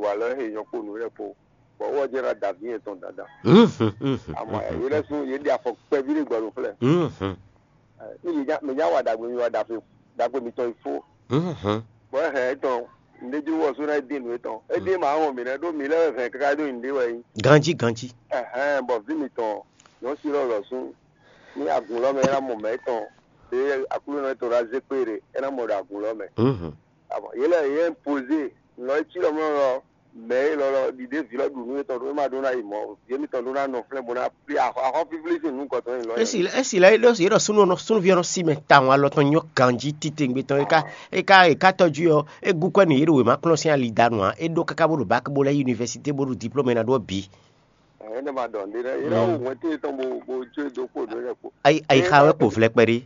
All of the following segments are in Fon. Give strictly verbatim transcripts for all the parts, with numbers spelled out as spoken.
wa lɔ he nyɔ kpo nǔ lɛ kpo, bɔ wɔ jɛ na davi yɛn tɔn dandan. Ama yɛ lɛ sun yɛ ɖi afɔ kpɛvi ɖe gbɔ ɖo flɛ. Ni mi nya mi nya wa dagbe mi wa dafe dagbe mi tɔn ifo. Bɔ hɛn etɔn ndeju wɔ so na edi nu etɔn edi ma wɔn mi nɛ ɖo mi lɛ hɛn kaka ɖo yin ɖe wɛ yi. Ganji ganji. Ɛhɛn bɔ vi mi tɔn nyɔ si lɔ lɔ sun ni agun lɔ mɛ na mɔ mɛ etɔn de akulu nɔ etɔn na ze kpe ɖe ena mɔ ɖo agun lɔ mɛ. Abɔ yele yɛ poze lɔ etsi lɔ mɔ lɔ mɛ e lɔlɔ ɖiɖe vǐ lɔ ɖu nú etɔn ɖó ma ɖó ná yi mɔ vǐ émítɔn ɖó ná nɔ flɛ́ bó ná pli axɔ axɔ fíflí sín nú gɔtɔn yi lɔ. Esi esi la ɖo yě ɖɔ súnnu nɔ súnnuví ɔ́ nɔ sí mɛ tawun alɔ tɔn nyɔ ganjí titewungbe tɔn e ka e ka e ka tɔjú ɔ́, é gúkwɛ́ nú yě ɖo wěma kplɔ́n sín ali danu ǎ. É ɖó káká bó ɖo bak bó lɛ́ yunivɛsité bó ɖo diplôme ná ɖó ɔ́ bǐ. Ɛhɛn, ne ma ɖɔ nɖé ɖé yé ná wo hwɛn tó yetɔn bó bó jó e dó kpó ɖó lɛ kpó. Ayi ayi xa wɛ kpo vlɛ kpɛɖé.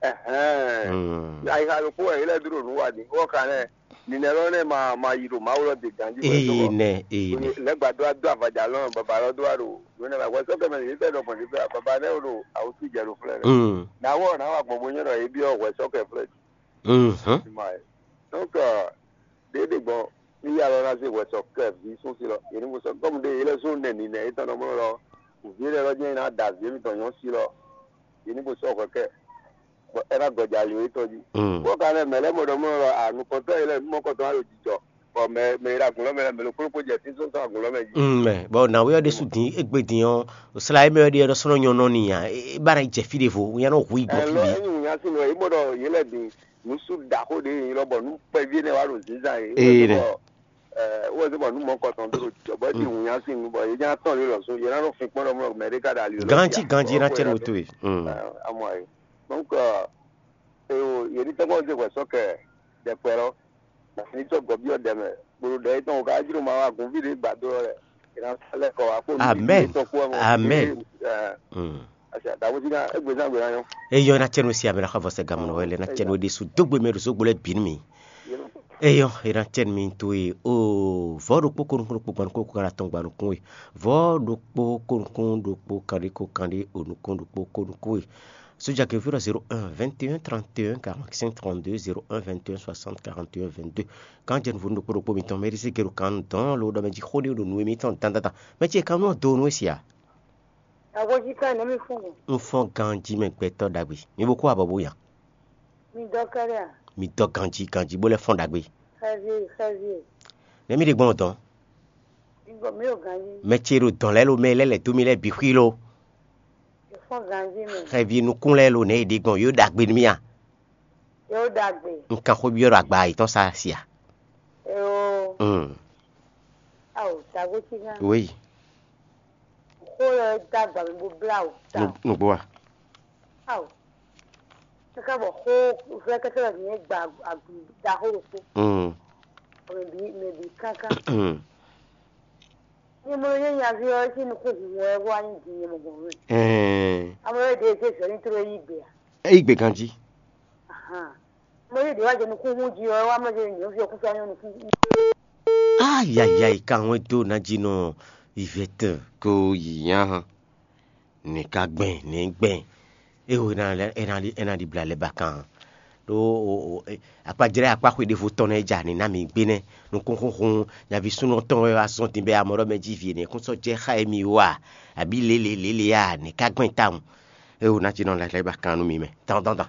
Ɛhɛn. Ayixa ɖokpó wɛ yě lɛ́ dó ɖo nǔ wa din. Wɔ ka nɛ ninɛ lɔ nɛ ma ma yi ɖo Mawu lɔ de ganji wɛ Ee tó. Nɛ ee nɛ. Lɛgba dó adó avaja lɔ baba lɔ dó wa ɖo yóò nɛ ma hwɛ sɔkɛ mɛ yě tɛ ɖɔ gbɔn ɖiƒe baba nɛ ɖo awutu jɛ ɖo flɛ lɛ. Mm. Na wɔ na wa gbɔn bo nyɔ ɖɔ yě biɔ hwɛ sɔkɛ flɛ. Mhm. Donc ɖeɖe gbɔn ní yà lɔ ná zé hwɛ sɔkɛ ví sún sí lɔ yě ní mo sɔ gɔmu ɖe yě lɛ zó nɛ ninɛ yě tɔn nɔ mɔ lɔ. Vǐ lɛ lɔ jẹ́ ná da vǐ mitɔn nyɔ sí lɔ yě ní mo sɔ hwɛ kɛ. Bɔ ɛ ná gɔja ali wétɔ jí. Bó ka lɛ mɛ lɛ mɔ ɖɔ mɔ lɔ anukɔtɔ yi lɛ numɔkɔtɔ alo jijɔ bɔ mɛ mɛ yi ɖe agun lɔ mɛ lɛ mɛ lɔ kplɔ́n kpó jɛ fí sɔsɔ agun lɔ mɛ jí. Mm, mɛ bɔ nǎwe ɔ́ ɖésú dín égbé dín ɔ́, sla e mɛ ɔ́ ɖe ɔ́ sɔ́ nɔ nyɔ nɔ n'i ǎ. É bá ná yi jɛ fí ɖěvo, wú nyá nɔ hu yi gbɔn fí Ɛlɔ bǐ. Enyi wǔ nyá sí nɔ yě mɔ ɖɔ yě lɛ din nǔsú ɖaxó ɖě yě nyí lɔ bɔ nú kpɛví énɛ́ wá ɖo zǐnzán yě. Ee nɛ. Wɔ zé bɔ nú mɔkɔtɔn ɖó jijɔ bɔ é din wǔ nyá sí nú bɔ yě nyá tɔn lé lɔ sún yě ná nɔ fin kpɔ́n ɖɔ mɔ mɛ ɖé ka ɖo ali lɔ. Ganji ganji ná tɛ́ nɔ towe. Amɔ ayé. Donc, euh, et au, il y a des temps qu'on dit quoi, ça que des fois, là, la finitude, quoi, bien, des, pour le temps, on va dire, on va convier les bateaux, là, et dans le corps, à cause du Amen. Temps, quoi, on Amen. Dit, euh, Mm. Asa, da wuti na, egbe zan gbe na yɔ. Eyɔ na tsɛnu si amena xɔ vɔsɛ gamu nɔ wɛlɛ na tsɛnu de su dogbe mɛ do so gbolɛ bin mi. Eyɔ ena tsɛnu mi to ye o vɔ ɖokpo konu konu kpo gbanu koko kana tɔn gbanu kun ye vɔ ɖokpo konu konu ɖokpo kanɖi ko kanɖi onukun ɖokpo konu kun ye. Sójà kɛ́ fí ɖɔ zéro un vingt et un trente et un quarante-cinq trente-deux, zéro un vingt et un soixante quarante et un vingt-deux. Kan jɛ nuvunu ɖokpo ɖokpo mitɔn mɛ ɖisí gero kan dɔn lo ɖɔ mɛ jí xó ɖé ɖo nú émítɔn dandandan. Mɛ ce kan nɔ do nú esi a? Agoji kan nɔ mi fún mi. N fɔ́n ganjí mɛ gbɛtɔ́ ɖagbe. Mi bo kó abɔ bó ya. Mi dɔ kɛɖɛ a? Mi dɔ ganjí ganjí bó lɛ fɔ́n ɖagbe. Xɛvi xɛvi. Nɛ mi ɖe gbɔn dɔn. Mi gbɔ mi o ganjí. Mɛ ce ɖo dɔn lɛ lo mɛ lɛ lɛ dó mi lɛ bǐ xwí lo. Xɛvi nukún lɛ́ɛ lo nɛ̌ è ɖe gbɔn yǒ ɖagbe nú mì a? Yǒ ɖagbe. Un kan xó byɔ́ ɖo agba yětɔn sá sia. Eo. Mm. Ao, tago cí gán. Oui. Xó lɛ dó agba mi bó blá o. Ta. Nugbo a? Ao. Kaka bɔ xó vɛ kɛkɛ lɛ nyɛ gba agun da xó ɖokpó. Mm. Mɛ bi mɛ bi kankan. Mm. Nyɛ mɔ nyɛ nyaví ɔ́, é cí nukún hun wɛ wá nyí din nyɛ mɔ gbɔn mɛ. Ɛɛ. Ame ɖe ɖe zɛ ní tró yí gbe a? Eyi gbe ganjí. Ahan. Ame ɖe ɖe wá jɛ nukún hun jí ɔ́, wá mɔ jɛ nyɛ fi ɔkúsá nyɔ nukún. Ayayai kan wɛ dó ná jí nɔ ivɛtɛ ko yi nya hàn. Nɛ̌ ka gbɛn nɛ̌ gbɛn? É ho é ná lɛ́ é ná ɖi é ná ɖi blǎ lɛ́ ba kan. Ɖó akpajlɛ́ akpá xwe ɖěvo tɔn nɛ́ ja nǐ ná mǐ gbé nɛ́. Nukúnxúnxún nyaví súnnu tɔn wɛ wá zɔ́n din bɛ́ amɔ̌ ɖɔ mɛ jí vǐ énɛ́ kún sɔ́ jɛ xá émí wú a? Abǐ lělě lělě a? Nɛ̌ ka gbɛn tawun? É ho ná jí nɔ lɛ́ lɛ́ ba kan nú mi mɛ dandandan.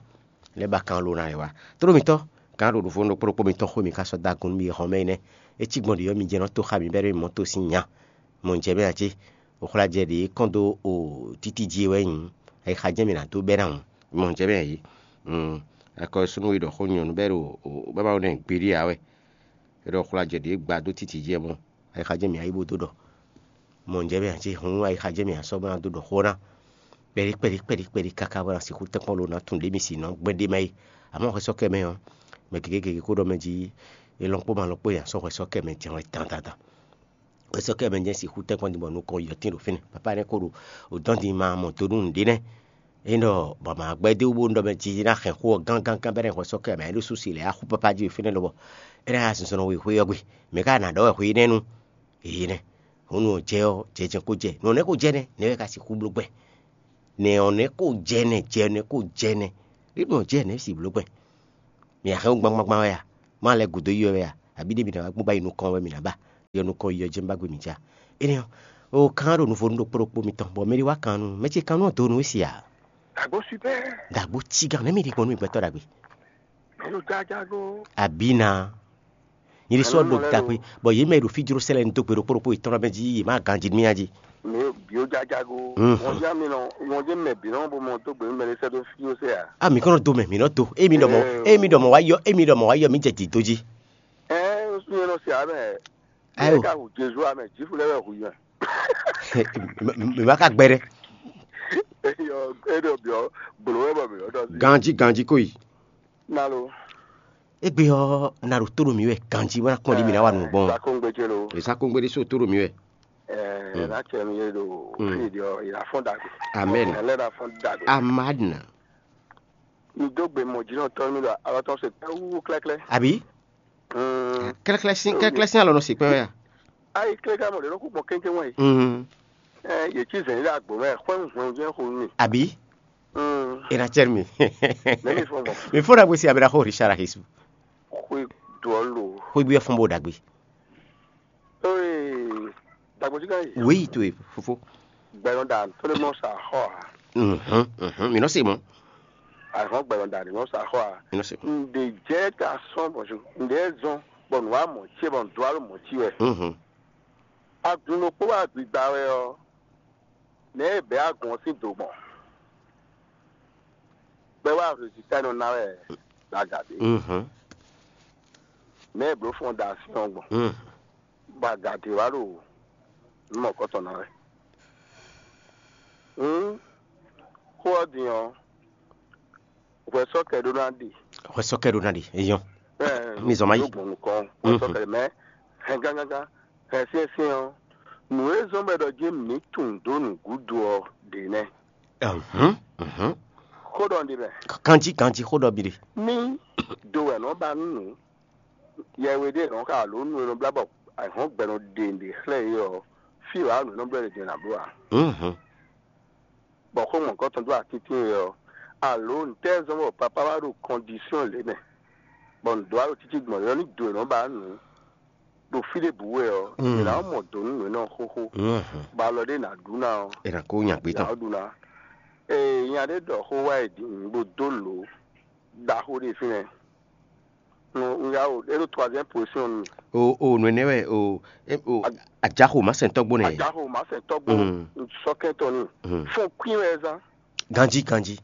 Lɛ́ ba kan lo ná lɛ́ wá. Tló mitɔ́, gǎn ɖo nǔvó ɖokpó ɖokpó mitɔn xwé mi ka sɔ́ dó agun nú mi e hɔn mɛ énɛ́. É cí gbɔn ɖě ɔ́, mi jɛ nɔ tó xá mi bɛ́ ɖó mi mɔ tó sín nya. Mɔ jɛ mɛ ǎ cé? Oxlajɛ ɖě kɔn dó o títí jí wɛ nyí. Ayixa jɛ́n mi ná dó bɛ́ ná hǔn. Mɔ jɛ mɛ yě. Akɔsúnú e ɖɔ xó nyɔ̌nu bɛ́ ɖo bábá nɛ gbeɖé ǎ wɛ. É ɖɔ oxlajɛ ɖě gba dó títí jí wɛ mɔ. Ayixa jɛ́n mi ayí bó dó ɖɔ. Mɔ jɛ mɛ ǎ cé? Hǔn ayixa jɛ́n mi asɔ́ bó ná dó ɖɔ xó ná. Kpɛɖí kpɛɖí kpɛɖí kpɛɖí káká bó ná sixú tɛ́nkpɔ́n lo ná tun ɖě mi si nɔ gbɛ́ ɖé mɛ yí. Àmọ́ hwɛsɔ́kɛ mɛ ɔ́, mɛ gěgé gěgé kó ɖɔ mɛ jí é lɔn kpó ma lɔn kpó nya sɔ́ hwɛsɔ́kɛ mɛ jɛ́n wɛ dandandan. Hwɛsɔ́kɛ mɛ jɛ́n sixú tɛ́nkpɔ́n din bɔ nukɔn yɔtín ɖo fínɛ́. Papá nɛ́ kó ɖo dɔn din ma mɔ do nú nǔɖé nɛ́. É ɖɔ bɔ mǎ gbɛ́ dó bó ɖɔ mɛ jí ná hɛn xó ɔ́ gángángán bɛ́ nɛ́ hwɛsɔ́kɛ mɛ é ɖo súsi lɛ̌ axú papá jí ɖo fínɛ́ lobɔ é ná yá zinzɔn nɔ we xwé ɔ́ gbe. Mɛ ká ná ɖɔ wɛ xwé énɛ́ nu? Èyí nɛ́. Hǔn nǔ ɔ́ jɛ ɔ́, jɛ jɛ́n kó jɛ. Nǔ ɔ́ nɛ́ kó jɛ nɛ́, nɛ̌ wɛ ka sixú bló gbɛn? Nɛ̌ ɔ́ nɛ́ kó jɛ nɛ́, jɛ nɛ́ kó jɛ nɛ́. Ɖé nǔ ɔ́ jɛ nɛ̌ si bló gbɛn? Mǐ ná hɛn wú gbangbangbán wɛ a? Má lɛ́ gǔdo yi wɛ a? Abǐ ɖé mǐ ná wá gbɔn bá yi nukɔn wɛ mǐ ná ba? yɔ nukɔn yi ɔ́ jɛ́n ba gbe mǐ ja. Énɛ́ ɔ́, o kan ɖo nuvo nú ɖokpó ɖokpó mitɔn, bɔ mɛ ɖé wá kan nú mɛ ce kan nú ɔ́ dó nú we se ǎ. Àgbo super. Dagbo cígán nɛ́ mi ɖi gbɔn nú mi gbɛtɔ́ ɖagbe. Mɛ ɖo jajago. Abina. Nyiri sɔ ɖo gakpe, bɔ yě mɛ ɖo fí jló sɛlɛ ní dó gbe ɖokpó ɖokpó yětɔn mɛ jí yě má ganjí nú mía jí. Mɛ bio jajago. Mhm. Wọn jẹ mi nɔ, wọn jẹ mɛ bi nɔ bo mɔ dó gbe mɛ ɖé sɛ dó fí ó sɛ à. A mi kɔnɔ do mɛ mi nɔ do, emi ɖɔ mɔ, emi ɖɔ mɔ wá yɔ, emi ɖɔ mɔ wá yɔ mi jɛ dǐdó jí. Ɛ, ŋsu yẹn nɔ se amɛ. Ayo. Ɛ ka hu Jezu amɛ, Jifu lɛ wɛ hu yɔ. Mi ma ka gbɛ ɖɛ. Eyɔ, e ɖo biɔ, bolo wɛ bɔ mi yɔ dɔ si. Ganji ganji ko yi. Nalo. Egbe ɔ́, na ɖo tó ɖo mǐ wɛ ganji bó ná kpɔ́n ɖi mǐ ná wa nǔ gbɔn. Sakongbe ce lo. Èsakongbe ɖé so tó ɖo mǐ wɛ. Ɛ, na cɛ mi ye ɖo fi ɖi ɔ, ìlà fɔn dagbe. Amen. Ɛ lɛ na fɔn dagbe. Amadna. Mi dó gbe mɔ jínɔ tɔn mi ɖo alɔ tɔn se pɛ wú klɛklɛ. Àbí? Mm. Kɛlɛkɛlɛ sín kɛlɛkɛlɛ sín alɔ nɔ se pɛ wɛ ya. Ayi kile ka mɔ ɖe nɔ kú gbɔn kɛnkɛn wɛ. Mm. Ɛ, yě cí zɛ̌n ɖe agbo mɛ xwɛn hwɛn jɛ xo mi. Àbí? Mm. E na cɛ mi. Mɛ mi fɔ gbɔn. Mi fɔ ɖagbe si abira xo Richard Ahisu. Xwe dɔ lo. Xwe bi fɔn bo ɖagbe. Ee, dagbo ti ka yi. Oui, to e fofo. Gbɛnɔ da to le mɔ sa xɔ a. Mhm, mhm. Mi nɔ se mɔ. Àhɔn gbɛnɔ da ni mɔ sa xɔ a. Mi nɔ se mɔ. Ǹdè jẹ́ ká sɔn bɔ ǹdè zɔn bɔ nù wá mọ̀ tí bɔ ǹdó aló mọ̀ tí wɛ. Mhm. Agun ɖokpó wá gbigba wɛ ɔ́, nɛ̌ e bɛ̌ agun ɔ́ sín do gbɔn? Bɛ́ wá résultat nɔ ná wɛ ɖo aga ɖé. Mhm. Nɛ̌ e blǒ fɔ́n da sín ɔ́ gbɔn? Mhm. Bɔ aga ɖé wá ɖo nǔ mɔ̌kɔtɔn ná wɛ. Hǔn xó ɔ́ din ɔ́, hwɛ sɔ́ kɛ ɖó ná ɖi. Hwɛ sɔ́ kɛ ɖó ná ɖi, eyɔn. Ɛ, Mi zɔn ma yi. Yóò gbɔn nukɔn, hwɛ sɔ́ kɛ mɛ hɛn gángángán, hɛn syɛ́nsyɛ́n ɔ́, nǔ e zɔ́n bɔ è ɖɔ jí mǐ tunwun dó nǔgúdo ɔ́ ɖě nɛ́. Mhm, mhm. Xó ɖɔ un ɖi mɛ. Ganjí ganjí xó ɖɔ mi ɖe. Ní do wɛ nɔ ba nú nǔ, yɛwe ɖé nɔ xa alo nú e nɔ blá bɔ ahɔ̌n gbɛ nɔ ɖe nǔɖé xlɛ́ yě ɔ́, fí wǎ nǔ e nɔ blɛ́ ɖě din ná bló ǎ. Mhm. Bɔ xó mɔ̌kɔtɔn dó atín tín é ɔ́, alo ntɛ́ zɔ́n bɔ papá wá ɖo kɔndisɔ́n lě mɛ, bɔ nǔ dó wá ɖo títí gbɔn é ɔ́, ní do è nɔ ba nǔ ɖo fí ɖěbǔ wɛ ɔ́, Mm. è nǎ mɔ dǒ nú nǔ énɛ́ ɔ́ xóxó, Mhm. bɔ alɔ ɖé ná ɖu ná ɔ́, È nǎ kó nya gbé è nǎ tɔn. Ɖu ná. Ee, nya ɖé ɖɔ xó wá è ɖi nǔ bó dó lǒ ɖaxó ɖé fínɛ́. Un ya o, é ɖo troisième position nú mi. O o nǔ énɛ́ wɛ o e- o Ajaxo má sɛn tɔ́gbó nɛ. Ajaxo má sɛn tɔ́gbó Mm. sɔkɛn tɔn ní. Mm. Fún kwín wɛ zán. Ganjí ganjí.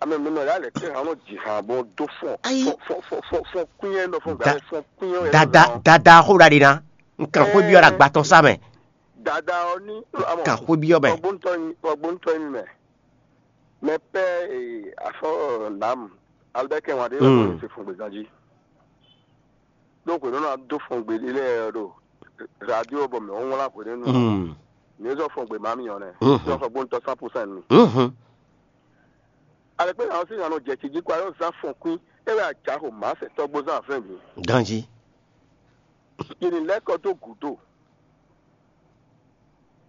Ame mi nɔ ya lɛ tɛ hàn nɔ jì hàn bɔ dó fún Ayi. Fún fún fún fún fún kwín yẹn nɔ fún Da- gbàgbé fún kwín yẹn Dada zán. Dada xó ɖa ɖi ná. N kàn xó byɔ́ ɖa gbatɔn sá mɛ. Dada ɔ ní amɔ Kàn xó byɔ́ mɛ. Ɔgbóntɔ yin ɔgbóntɔ yin mɛ. Mɛ pɛ ee afɔ nam Albert kɛ wan ɖe Mm. ɔgbɔn se fún gbèzán jí. Donc nɔ na dó fún gbè lɛ ɖo radio bɔ mɛ wọn wla hwede nù. Mm. Ní zɔ fún gbè má mi yàn nɛ. Mhm. Zɔ fún gbóntɔ cent pour cent mi. Mhm. Alekpe na ɔsi na nɔ jɛ tsi jí kɔ ayɔ zan fɔn kwin e wɛ ajaxo ma sɛ tɔgbo zan fɛn mi. Ganji. Yìnyín lɛ kɔ dó gǔdo.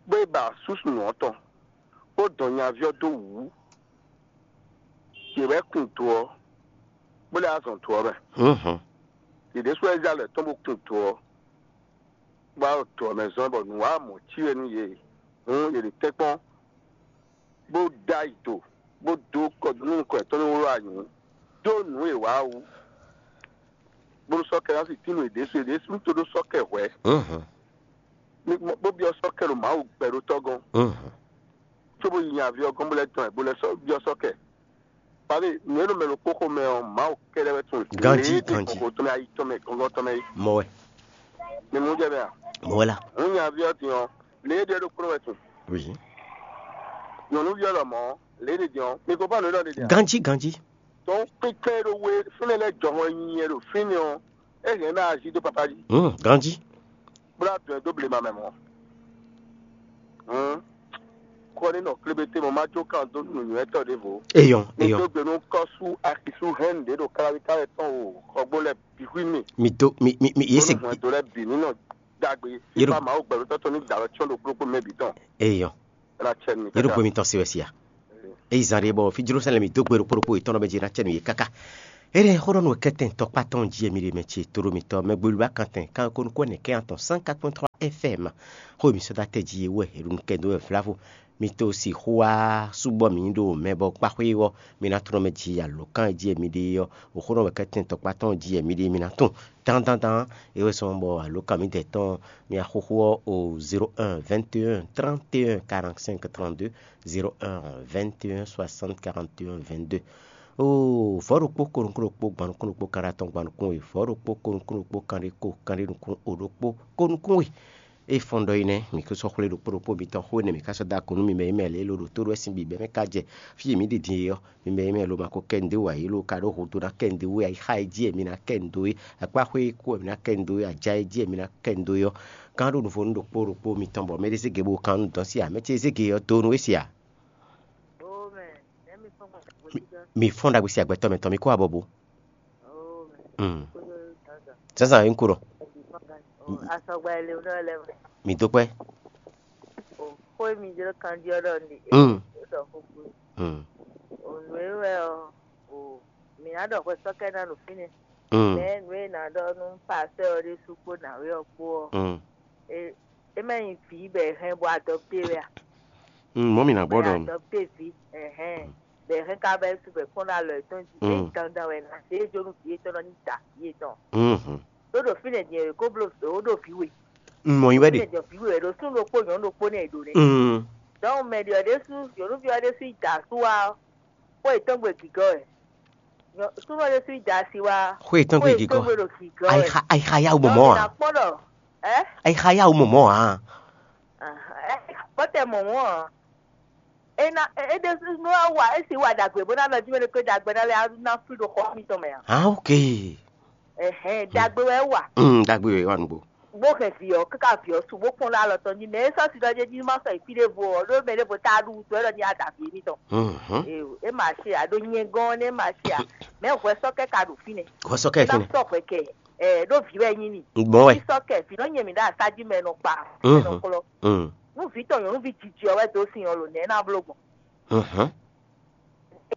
Bó e ba súsú nǔ ɔ́ tɔn, bó dɔn nyaví ɔ́ dó wǔ. Yě wɛ kun do ɔ́, bó lɛ́ azɔn do ɔ́ mɛ. Mhm. Yě ɖésú wɛ zé alɔ yětɔn bó kun do ɔ́, bó wá ɖo do ɔ́ mɛ zɔ́n bɔ nǔ wá mɔ̌ cí wɛ nú yě. Hǔn yě ɖo tɛ́nkpɔ́n bó dó ayi do, bó dó kɔ nú nukɔn yětɔn ní wló anyǔ, dó nǔ e wǎ wú, bónú sɔ́ kɛ ná sin tín nú yě ɖésú, yě ɖésú ní tó ɖó sɔ́ kɛ hwɛ̌. Mhm. Ní bó byɔ́ sɔ́ kɛ ɖo Mawu gbɛɖótɔ́ gɔ́n, Mhm. cóbó yi nya aví ɔ́ gɔ́n bó lɛ́ dɔn ɛ, bó lɛ́ sɔ́ byɔ́ sɔ́ kɛ. Pabí, nǔ e ɖo mɛ ɖokpó xomɛ ɔ́, Mawu kɛ́ɖɛ́ wɛ tunwun. Ganjí, Lě e ganjí. Kɔkɔ tɔn mɛ, ayi tɔn mɛ, gɔngɔn tɔn mɛ é. Mɔ wɛ. Mi mú jɛ mɛ a? Mɔ wɛ la. Hǔn nya aví ɔ́ din ɔ́, lě e ɖɔ é ɖokpónɔ wɛ tunwun. Oui. Nyɔ̌nuví ɔ́ lɔmɔ̌, lě e ɖe din ɔ́, mi ko fá nǔ e ɖɔ ɖe din a? Ganjí, ganjí. Tɔn kpínkpɛ́n e ɖo we fúnɛ lɛ́ɛ jɔhɔn e nyi nyɛ ɖo fínɛ́ ɔ́, é hɛn ná ají dó papá jí. Hmm, ganjí. Bó ná dɔn ɛ dó blema mɛ mɔ̌. Hǔn, kɔ ní nɔ klébété mɔ má jó kan dó nǔnywɛ́tɔ́ ɖěvo. Eyɔn, Ní eyɔn. Dó gbe nú kɔ́sú axisú hɛn nǔɖé ɖo káláwí káwɛ tɔn o, xɔgbó lɛ bǐ xwí mì. Mi dó, mi, mi, mi, yě se. Hwɛndo lɛ bǐ ní nɔ dagbe. Yé ɖo- Fífa Mawu gbɛɖótɔ́ tɔn ní dǎ wɛ cyɔ́n ɖokpó ɖokpó mɛ bǐ tɔn. Eyɔn. Ela cɛ mi. Yé ɖo gbemi tɔn se wɛ sia. Eyi zan ɖe bɔ fi Jerusalem dó gbe ɖokpó ɖokpó yětɔn ɖɔ mɛ dzi ná cɛ nú yě káká. Éɖɛn xó ɖɔ nú wɛ kɛ́tɛn tɔkpá tɔn jí e mi ɖe mɛ ce tóɖó mitɔ́ mɛ gbelu ba kantɛn kan ko nukún ɛnɛ kɛ́n atɔn cent quatre point trois F M. Xó e mi sɔ́ dó atɛ jí e wɛ è ɖo nukɛn dó wɛ vlavo. Mi to sixú wá súbɔ mǐ ɖo mɛ bɔ kpáxwé ɔ́, mi ná tunɔ mɛ ji alǒkan e jí e mi ɖe é ɔ́, xó ɖɔ wɛ kɛ́tɛn tɔkpá tɔn jí e mi ɖe mi ná tunɔ. Dandandan, é wɛ zɔ́n bɔ alǒkan mǐdɛɛ tɔn mi axóxó ɔ́ o zéro un vingt et un trente et un quarante-cinq trente-deux, zéro un vingt et un soixante quarante et un vingt-deux. Oo, vɔ̌ ɖokpó ko nukún ɖokpó gban nukún ɖokpó kanɖé atɔn gban nukún we, vɔ̌ ɖokpó ko nukún ɖokpó kanɖé ko kanɖé nukún o ɖokpó ko nukún we. É fɔ́n ɖɔ é nɛ́, mǐ ko sɔ́ xwlé ɖokpó ɖokpó mitɔn xó énɛ́ mǐ ka sɔ́ dó agun nú mi mɛ e mɛ lě e lo ɖo tó ɖó wɛ sín bǐbɛ́ mɛ ka jɛ fí e mǐ ɖi din é ɔ́, mi mɛ e mɛ lo ma ko kɛ nǔɖé wǎ é lo ka ɖó hǔdo ná kɛ nǔɖé wú é, ayixa e jí wɛ mi ná kɛ nǔɖó é, akpáxwé e kú wɛ mi ná kɛ nǔɖó é, aja e jí wɛ mi ná kɛ nǔɖó é ɔ́, gán ɖó nuvo nú ɖokpó ɖokpó mitɔn bɔ mɛ ɖé zé gě bó kan nú dɔn sí ǎ, mɛ ce e zé gě ɔ́ dó nú é se ǎ. Mǐ fɔ́n ɖagbe sín agbɛtɔ́ mɛ tɔn, mǐ kó abɔ bo. Mm. Zǎnzǎn e un ko ɖɔ. Asɔgba e le nɔ lɛ mɛ. Mǐ dó kpɛ́. O xó e mi jló kanjí ɔ́ ɖɔ ní. Mm. Ɖɔ xóxó. Mm. O nǔ e wɛ ɔ, o mǐ ná ɖɔ hwɛ sɔ́kɛ ná nǔ fínɛ́. Mm. Mɛ nǔ e ná ɖɔ nú pasɛ ɔ́ ɖésú kpó nǎwe ɔ́ kpó ɔ́. Mm. E é má nyí vǐ bɔ è hɛn bɔ adɔpté wɛ a? Mm, mɔ̌ mi ná gbɔ Bɔ è ɖɔ. Adɔpté vǐ, ɛhɛn. Bɔ è hɛn ka bɔ é su bɔ è kpɔ́n ɖo alɔ yětɔn jí. Mm. É dandan wɛ ná zé jó nú vǐ yětɔn nɔ ní da vǐ yětɔn. Mhm. Ɖó ɖo fínɛ́ din è ko bló ó ɖo vǐ we. Mm, mɔ̌ nyí wɛ ɖe. Fínɛ́ din vǐ we wɛ ɖo súnnu ɖokpó nyɔ̌nu ɖokpó nɛ́ è ɖo nɛ́. Mm. Donc mɛ ɖiɔ ɖésú, nyɔ̌nuví ɔ́ ɖésú yi da asú wá ɔ́, xó yětɔn gbe gǐgɔ́ wɛ. Nyɔ- Súnnu ɔ́ ɖésú yi da asi wá. Xó yětɔn gbe gǐgɔ́. Xó yětɔn gbe ɖo gǐgɔ́ wɛ. Ayixa ayixa yá wú mɔmɔ Donc a. Nakpɔ́n ɖɔ, ɛ? Ayixa yá wú mɔmɔ a. Bɔtɛ mɔmɔ a. Ena ede nɔ wa esi wa dagbe bó ná lɔ jí mɛ ɖé kpé dagbe ná lɛ ná fí ɖo xɔ mitɔn mɛ a. Ah, ok. Ɛhɛn, dagbe wɛ wa. Mm, dagbe wɛ wa nugbo. Bó hɛn vǐ ɔ́ káká vǐ ɔ́ su bó kpɔ́n ɖó alɔ tɔn jí mɛ é sɔ́ si ɖɔ jɛ jí má sɔ yi fí ɖěvo ɔ́ ɖó mɛ ɖěvo tá ɖu wútu wɛ ɖɔ ní ada vǐ émítɔn. Mhm. Ee, é ma ṣe à ɖó nyɛ gɔ́n ɔ́ nɛ́ ma ṣe à. Mɛ hwɛ sɔ́ kɛ ka ɖo fínɛ́. Hwɛ sɔ́ kɛ fínɛ́. Sɔ́ hwɛ kɛ ɛ ɖó vǐ wɛ nyí ni. Gbɔn wɛ. Sɔ́ kɛ vǐ nɔ nyɛ mǐ ɖo asájí mɛ nɔ kpa. Mhm. Nɔ klɔ. Mm. Nú vǐ tɔn nyɔ̌nuví jiji ɔ́ wɛ dó sin ɔ́ lǒ nɛ̌ ná bló gbɔn? Mhm.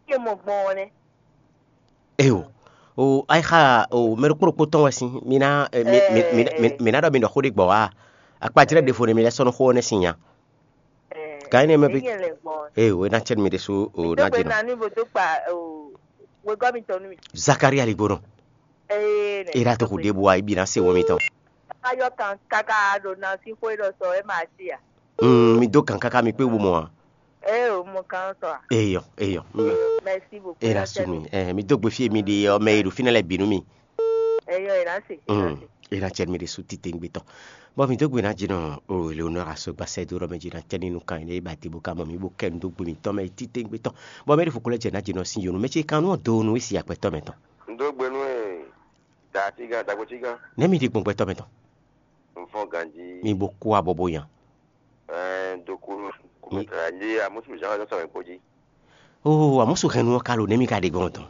É mɔ gbɔn ɔ́ nɛ́. Eyo. O ayixa o mɛ ɖokpó ɖokpó tɔn wɛ sín mi ná eh, mi- mi- mi- mi- mi ná ɖɔ mi ɖɔ xó ɖé gbɔ wá. Akpajlɛ́ ɖěvo nɛ mi lɛ́ sɔ́ nú xó ɔ́ nɛ́ sin nya. Gǎn énɛ́ mɛ bí. Ee, o é ná cɛ nú mi ɖésú o ná jɛ nɔ. Nani bo dó kpa wegɔ́ mitɔn nú mi. Zakaria ligbónɔ. Ee, é ná tó xu ɖěbǔ wá ibi ná se wɔ mitɔn. Ayɔ kan káká ɖo na sín xó é ɖɔ sɔ é ma sí a. Mm, mi dó gǎn káká mi kpé wú mɔ a. Ee, o mɔ kan sɔ a. Eyɔ, eyɔ. Mm. Merci beaucoup. É ná sú mi. Eh, mi dó gbe fí e mi ɖe ɔ́ mɛ e ɖo fínɛ́ lɛ́ɛ bǐ nú mi. Eyɔ, é ná se. Mm. É ná cɛ nú mi ɖésú titewungbe tɔn. Bɔ mi dó gbe ná jínɔ o Eleonora so gbasɛ dó ɖɔ mɛ jí ná cɛ ní nukán énɛ́ ba te bó ká mɔ mi bó kɛ nu dó gbe mitɔn mɛ titewungbe tɔn. Bɔ mɛ ɖé fo ko lɛ́ jɛ ná jínɔ sín yonu mɛ ce kan nú ɔ do nu é si agbɛtɔ́ mɛ tɔn. N dó gbe nú ɛ dǎ tígán dǎgbó tígán. Nɛ̌ mi ɖi gbɔn gbɛtɔ́ mɛ tɔn? Un fɔ́n ganjí. Mi bo kú abɔ bó nya. Ɛɛ, do kú kúmɛtara jí amúsù zán wɛ sɔmɛ kpó jí. Oo, amúsù hɛn nu ɔ́ ka lo nɛ̌ mi ka ɖe gbɔn tɔn?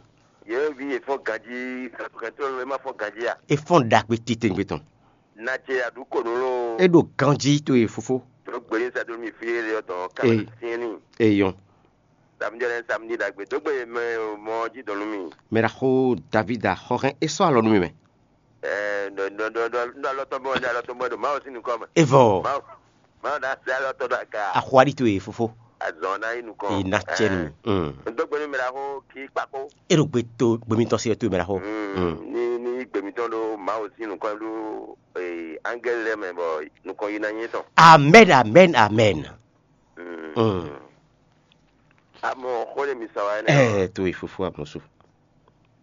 Yě vi è fɔ́n ganjí, hɛn tó ló é má fɔ́n ganjí a? É fɔ́n ɖagbe titewungbe tɔn. Nacɛ aɖu konu ló. É ɖo ganjí to e fofó. Tó gbé ní sá dó mi fí é lé ɔ́ dɔn ká Ee. Tiɛn ní. Eyɔn. Samedi lɛ samedi ɖagbe dó gbé mɛ mɔ jí dɔn nú mi. Mɛ ɖaxó Davida xɔ hɛn é sɔ́ alɔ nú mi mɛ. Ɛɛ, nɔ nɔ nɔ nɔ nɔ alɔ tɔn bɔ nɔ alɔ tɔn bɔ ɖo Mawu sín nukɔn mɛ. Evɔ. Mawu Mawu ná sɛ alɔ tɔn ɖo aga. Axɔ aɖi to e fofo. Azɔn ná yi nukɔn. E na cɛ nu. Mm. N dó gbe nú mi ɖaxó kí kpakó. E ɖo gbe to gbe mitɔn se to mɛ ɖaxó. Mm. Ní ní gbe mitɔn ɖo Mawu sín nukɔn ɖo ee, angɛli lɛ́ɛ mɛ bɔ nukɔn yi ná nyí tɔn. Amen, amen, amen. Mm. Mm. Amɔ xó ɖé mi sa wá ɛnɛ. Ɛɛ, to e fofo amusu.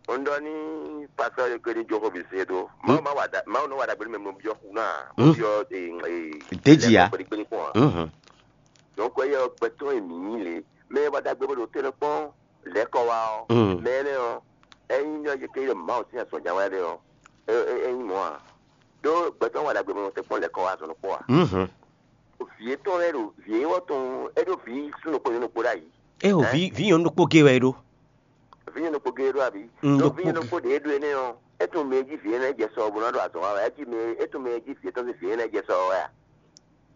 Un ɖɔ ní pastɔ ɖé ko ní jó xó bǐ se dó. Mawu ma wa da Mawu nɔ wa ɖagbe nú mɛ mo byɔ́ xu ná. Mo byɔ́ ee ee. Déjì ya. Kpeɖékpeɖé kpɔn a. Mhm. Donc eye ɔ gbɛtɔ́ e mǐ nyí lě, mɛ e wa ɖagbe bó ɖo tɛ́nɛ kpɔ́n lɛ̌kɔ wá ɔ́, Mm. Mɛ énɛ́ ɔ́, ényí nyɔ́ yě ké ɖo Mawu sín azɔ̌ ján wɛ ɖe ɔ́, é é é nyí mɔ̌ a? Ɖó gbɛtɔ́ wa ɖagbe bó nɔ tɛ́n kpɔ́n lɛ̌kɔ wá azɔ̌ nukpɔ́ a? Mhm. Vǐ étɔn lɛ́ɛ ɖo vǐ e wɔ tɔn é ɖo vǐ súnnu kpó nyɔ̌nu kpó ɖ'ayǐ. É o vǐ vǐ nyɔ̌nu ɖokpó gé wɛ é ɖó. Vǐ nyɔ̌nu kpó gé ɖó abǐ? Mm, ɖó vǐ nyɔ̌nu kpó ɖě ɖó énɛ́ ɔ́, é tunwun mɛ e jí vǐ énɛ́ jɛ sɔ bó ná ɖo azɔ̌ wa wɛ. É jí mɛ é tunwun mɛ e jí vǐ étɔn sín vǐ énɛ́ jɛ sɔ wa wɛ a?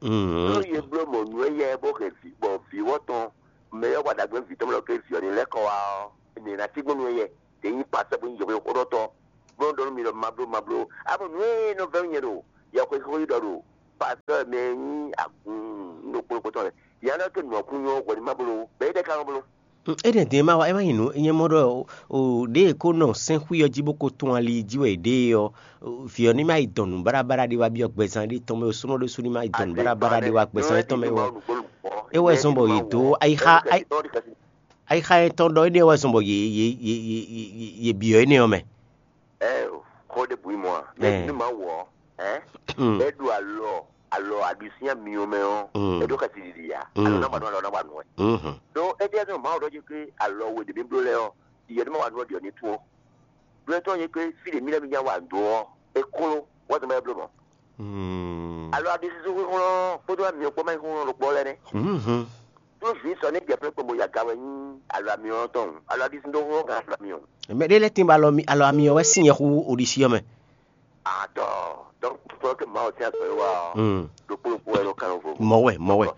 Mm. Ɖó yě bló mɔ̌ nú éyɛ́ bó hɛn vǐ bɔ vǐ wɔ tɔn mɛ e wa ɖagbe vǐ tɔn mɛ lɔ ké vǐ ɔ́ ní lɛ́ kɔ wá ɔ́, mǐ ná cí gbɔn nú éyɛ́. ɖě nyí pasɛ bó nyí yɛhweɖɔtɔ́, bó nɔ ɖɔ nú mi ɖɔ ma bló ma bló. Abo nǔ e nɔ vɛ́ nú nyɛ ɖo yɛhweɖɔ ɖo pasɛ mɛ e nyí agun ɖokpó ɖokpó tɔn lɛ, yǎ nɔ ke nǔ ɔ́ kún nyɔ́ hwɛ ní ma bló, bɔ é ɖɛ́ ka nɔ bló. Énɛ́ din e ma wa é ma nyí nǔ nyɛ mɔ ɖɔ o ɖěe kó nɔ sɛ́nxwí ɔ́ jí bó ko tún ali jí wɛ è ɖe é ɔ́, vǐ ɔ́ ní ma yi dɔn nǔ báɖabáɖa ɖé wá byɔ́ gbɛzán ɖé tɔn mɛ o súnɔ ɖésú ní ma yi dɔn nǔ báɖabáɖa ɖé wá gbɛzán étɔn mɛ wɛ. É wɛ zɔn bɔ yě dó ayixa ayixa yɛn tɔn ɖɔ énɛ́ wɛ zɔn bɔ yě yě yě yě yě byɔ́ énɛ́ ɔ́ mɛ. Ɛ xɔ ɖe bǔ mɔ a mɛ ní ma wɔ ɛ ɛ ɖo alɔ alɔ aɖisín amiyɔ mɛ ɔ́, ɛ ɖo xɛsi ɖiɖi ya alɔ na wa nú alɔ na wa nú ɛ. Ɖó é ɖíe zɔn Mawu ɖɔ jí ké alɔ we ɖě mi bló lɛ́ɛ ɔ́, yɛ ɖé ma wa nú ɔ ɖi ɔ ní tún ɔ́. Bló tɔn jí ké fí ɖě mí lɛ́ɛ mi nya wa dó ɔ́, é kló wɛ zɔn mɛ bló mɔ. Alɔ aɖisín xúnxún kpódó amiyɔ kpó ma nyí xúnxún ɖokpó lɛ́ɛ nɛ́. Tó vǐ sɔ ní jɛ fɛ́n kpombo yaga wɛ nyí alɔ amyɔ tɔn, alɔ aɖisín ɖó hɔn gan alɔ amyɔ. Mɛ ɖé lɛ́ tín bɔ alɔ mi- alɔ amyɔ wɛ sín nyɛ xú oɖisí ɔ́ mɛ. Atɔ, donc fɔ ke Mawu tɛn sɔ wa ɔ, ɖokpó ɖokpó wɛ nɔ kan vo. Mɔ wɛ, mɔ wɛ.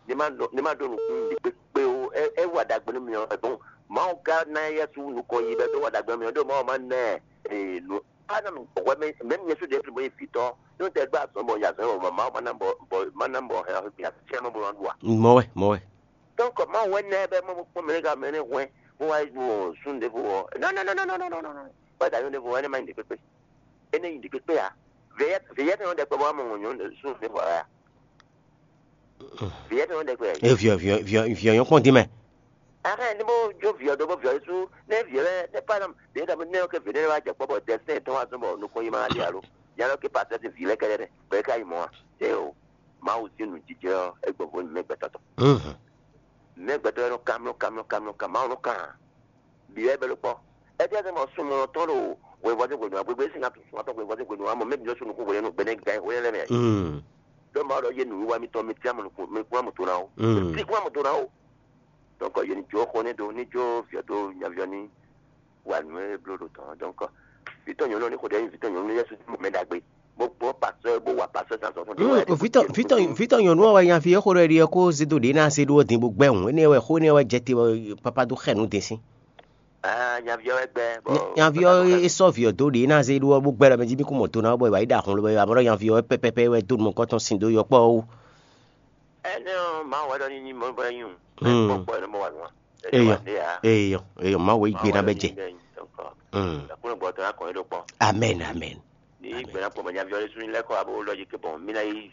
Ní ma ɖo ní ma ɖo nukún ɖi kpékpé o, é é wa ɖagbe nú mi ɔ, bon, Mawu ka ná yɛ sú nukɔn yi bɛ dó wa ɖagbe nú mi ɔ, ɖó Mawu ma nɛ ee nu. Ana mi wɛ mɛ mɛ mi yɛ sú ɖe fi mo yi fitɔ, ní tɛ gbá sɔn bɔ ya sɔn bɔ Mawu ma ná bɔ bɔ ma ná bɔ hɛ ɔ́ fi a tiɛ ma bɔ ma ɖu a. Mɔ wɛ, mɔ wɛ. Donc Mawu wɛ nɛ bɛ mo kpɔn mɛ ka mɛ ne hwɛ mo wa yi ɖu sun ɖe fo wɔ. Non non non non non non non. Ba da yɔn ɖe fo wɛ ne ma yi ɖe kpekpe. Ene yi ɖe kpekpe a. Veyɛ veyɛ ne yɔn ɖe kpɛ bɔ mo ŋɔ nyɔn sun ɖe fo a. Veyɛ ne yɔn ɖe kpɛ. E viɔ viɔ viɔ viɔ yɔn kpɔn di mɛ. Ahɛn ne bo jo viɔ do bo viɔ su ne viɔ lɛ ne pa nam de da ne yɔ ke vene wa jɛ kpɔ bɔ dɛsɛ tɔn wa zɔn bɔ nukun yi ma di alo. Yalɔ ke pasɛ ti vi lɛ kɛlɛ dɛ bɛ ka yi mɔ wa. Te o. Mawu sin nu jijɛ ɔ egbɔ vo mɛ gbɛtɔ tɔ. Mɛ gbɛtɔ yɛ nɔ kamlɔ kamlɔ kamlɔ kamlɔ nɔ kan. Bi wɛ bɛ ló kpɔ. Ɛtí ɛsɛ mɔ sunmɔ tɔn ɖo hwɛvɔzɛn hwenu agbegbe esi ŋa sunmɔ tɔn hwɛvɔzɛn hwenu amɔ mɛ bi lɔ sunu ko hwenu gbɛnɛ gan hwɛ lɛ mɛ. Dɔ ma ɖɔ ye nu wa mi tɔn mi tia mo mi kura mo to na o. Mi kura mo to na o. Donc ye ni jo xɔ ne do ni jo viɔ do nyaviɔ ni wa nu e blo ɖo tɔn. Donc vitɔ nyɔnu ni xɔ ɖe vitɔ nyɔnu yɛ su mo mɛ dagbe. Mo gbɔ pasteur bo wa pasteur san sɔn fún de. Vitɔ vitɔ vitɔ nyɔnu wa nyavi e xɔ ɖe ɖi ko zido ɖe na se ɖo din bo gbɛ hùn ene wɛ xɔ ne wɛ jɛ te papa do xɛ nu de sin. Ah, nyaviɔ wɛ gbɛ. Nyaviɔ e sɔ viɔ do ɖe na se ɖo bo gbɛ ɖɔ mɛ ji mi ko mɔ do na bɔ wa yi da hun lo bɔ amɔ ɖɔ nyaviɔ wɛ pɛpɛpɛ wɛ do mɔ kɔtɔn sin do yɔ kpɔ o. Ɛnɛ ɔ ma wɛ ɖɔ ni ni mɔ bɔ nyi o. Kpɔkpɔ ɛnɛ mɔ wa nua. Eyɔ eyɔ eyɔ ma wɛ igbe na bɛ jɛ. Ɛkúnlẹ̀ gbọ́dọ̀ akọ̀ yín ló pọ̀. Amen amen. Ní ìgbẹ́ náà pọ̀ mọ́ nyaviɔ lé sún lẹ́kọ̀ọ́ abó lọ́jì kébọ̀n mí náà yí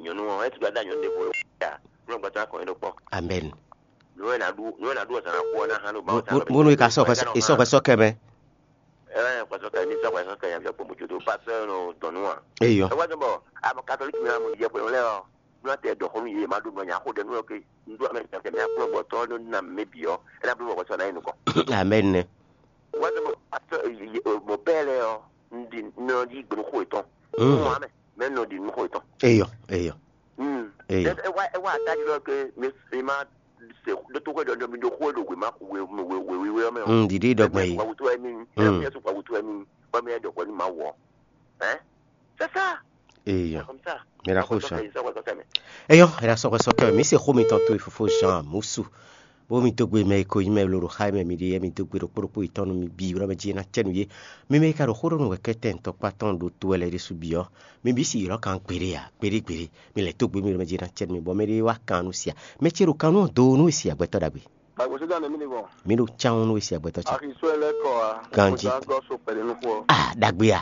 nyɔnu ɔn ẹ ti gba da nyɔnu ɖe bo ya kúlọ̀ gbàtà kàn yín ɖo kpɔ. Amen. Nú ẹ nà ɖu nú ẹ nà ɖu ọ̀sán kú ọ náà hàn ló bá ọ̀sán lọ. Múnú ìka sọ̀kọ̀ sọ̀kẹ́ mẹ́. Ẹ ẹ kpàtó kẹ́ ní sọ̀kọ̀ sọ̀kẹ́ yẹn fẹ́ pọ̀ mọ́tò tó pásítọ̀ nù dọ̀nù wa. Eyọ. Ẹ wá sọ bọ̀ àmọ́ katolíkì mi àmọ́ ìyẹn pẹ̀lú lẹ́yìn ọ̀ ní wọ́n tẹ dọ̀kọ́ mi yé má dùn mọ́ yàn kó dẹnu ọ̀kẹ́ ndú àmì ìjọba tẹ̀mí àkúrò bọ̀ tọ́ ló nà mí bì ọ́ ẹ náà bí wọ́n sọ náà yín nìkan. Amen. Wọ́n sọ bọ̀ pásítọ̀ mọ̀ bẹ́ẹ̀ lẹ́ ọ́ ndí nínú yí gbẹ̀rún kó ìtàn. Mọ́ àmì mẹ́nu di nínú kó ìtàn. Eyọ eyọ. Eyọ. Ẹ wá ẹ wá àtàjì lọ pé mi mi máa ṣe dótó kó ìdọ̀dọ̀ mi dó kó èlò wèmá wèwèwèwè ọmọ ẹ̀. Dìde ìdọ̀gbọ̀n yìí. Wàwùtú ẹ̀mí ẹ̀ fi ẹ̀sùn wàwùtú ẹ̀mí ọmọ ẹ̀ dọ̀gbọ̀n ni màá wọ̀ ẹ́. C'est ça. Eyọ. Comme ça. Mira ko sɔn. Eyɔ ɛɖa sɔkɔ sɔkɛ mi se xó mi tɔn to fofo Jean Musu. Bó mi dó gbe mɛ e ko nyí mɛ lolo xa mɛ mi ɖe yɛ mi dó gbe ɖokpó ɖokpó yětɔn nú mi bǐ wlɔ́ mɛ jí é ná cɛ nú yé. Mi mɛ e ka ɖo xó ɖó nú wɛ kɛ́tɛ́ ntɔkpá tɔn ɖo to wɛ lɛ́ɛ ɖésú bǐ ɔ́, mi bǐ si ylɔ́ kan gbeɖé ǎ, gbeɖé gbeɖé. Mi lɛ́ dó gbe mi wlɔ́ mɛ jí é ná cɛ nú mi bɔ mɛ ɖé wá kan nú sia. Mɛ ce ɖo kan nú ɔ do nú e sia gbɛtɔ́ ɖagbe. Gbàgbọ́ sí dáná mi ni bọ̀. Mi ɖo cán nú e sia gbɛtɔ́ ce. Àfi sọ ẹ lẹ́kọ̀ọ́ a. Ganji. Kò sá gọ́ so pẹ̀lú inú fún ọ. Ah, ɖagbe a.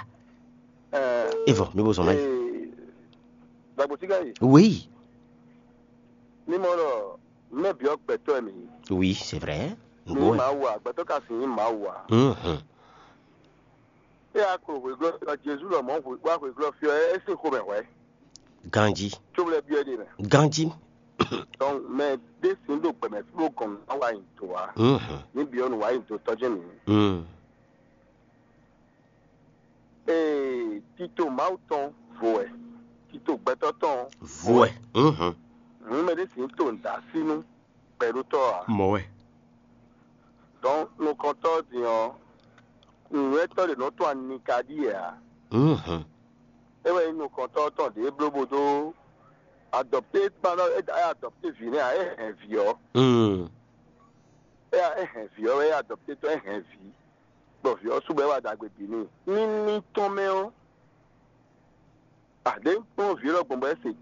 Ẹ Evɔ, mi bo zɔn mɛ. Ee, gbàgbọ́ sí gáyé. Oui. Mímọ́ lọ, mɛ biɔ gbɛtɔ mi. Oui, c'est vrai. Ní Ngbo. Màá wà, gbɛtɔ ka sì ní màá wà. Mhm. Ẹ yà kúrò hwèglɔ fiɔ Jésù lọ mọ́ wá hwèglɔ fiɔ ẹ sí xomɛ hwɛ. Ganji. Tso lɛ biɔ de mɛ. Ganji. Donc mɛ de sin do gbɛmɛ flo gɔn na wa yin to wa. Mhm. Ni biɔ nu wa yin to tɔjɛ mi. Mm. Ee, tito Mawu tɔn vo wɛ. Tito gbɛtɔ tɔn Vo ɛ. Mhm. Hun mɛ de sin to da sinu. Pɛɖotɔ a? Mɔ wɛ. Donc nukɔntɔ din ɔ, nǔnywɛtɔ ɖe nɔ to anika ɖi yɛ a? Mhm. E wɛ nyí nukɔntɔ tɔn ɖě bló bó dó adɔpté kpan nɔ e adɔpté vǐ nɛ́ a, e hɛn vǐ ɔ. Mm. E a e hɛn vǐ ɔ wɛ e adɔpté tɔn e hɛn vǐ. bɔ vǐ ɔ́ sú bɔ é wá ɖagbe bǐ n'i. Ní ní tɔn mɛ ɔ́, àdé kplɔ́n vǐ lɔ gbɔn bɔ é se tó